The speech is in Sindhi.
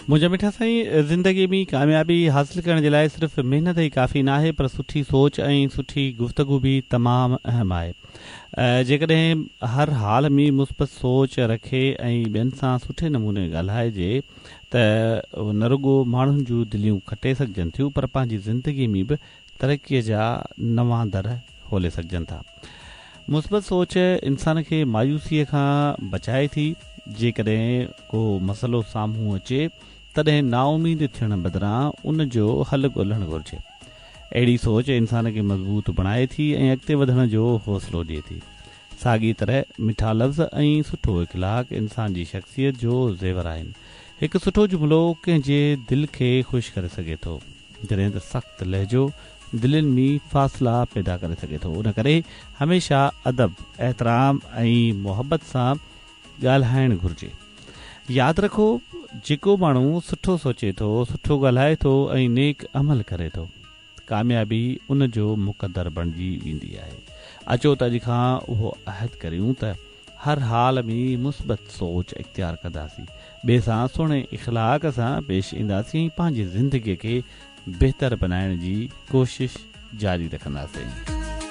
منهنجا مٺا سائين زندگي ۾ ڪاميابي حاصل ڪرڻ جي لاء صرف محنت ئي ڪافي ناهي پر سٺي سوچ ۽ سٺي گفتگو به تمام اهم آهي. جيڪڏهن هر حال ۾ مثبت سوچ رکي ۽ ٻين سان سٺي نموني ڳالهائجي ته نه رڳو ماڻهن جون دليون کٽي سگهجن ٿيون پر پنهنجي زندگي ۾ به ترقيء جا نوان در کولي سگهجن ٿا. مثبت سوچ انسان کي مايوسيء کان بچائي ٿي. جيڪڏهن ڪو مسئلو سامهون اچي تڏهن نااميد ٿيڻ بدران ان جو حل ڳولڻ گهرجي. اهڙي سوچ انسان کي مضبوط بڻائي ٿي ۽ اڳتي وڌڻ جو حوصلو ڏئي ٿي. ساڳي طرح مٺا لفظ ۽ سٺو اخلاق انسان جي شخصيت جو زيور آهن. هڪ سٺو جملو ڪنهن جي دل کي خوش ڪري سگهي ٿو. جڏهن ته سخت لهجو دلين ۾ فاصلا پيدا ڪري سگهي ٿو، ان ڪري هميشه ادب، احترام ۽ محبت سان ڳالهائڻ گهرجي. ياد رکو، جيڪو ماڻهو سٺو سوچي ٿو، سٺو ڳالهائي ٿو ۽ نيڪ عمل ڪري ٿو، ڪاميابي ان جو مقدر بڻجي ويندي آهي. اچو ته اڄ کان اهو عهد ڪريون ته هر حال ۾ مثبت سوچ اختيار ڪنداسين، ٻئي سان سهڻي اخلاق سان پيش اينداسين ۽ پنهنجي زندگي کي بهتر بنائڻ جي ڪوشش جاري رکنداسين.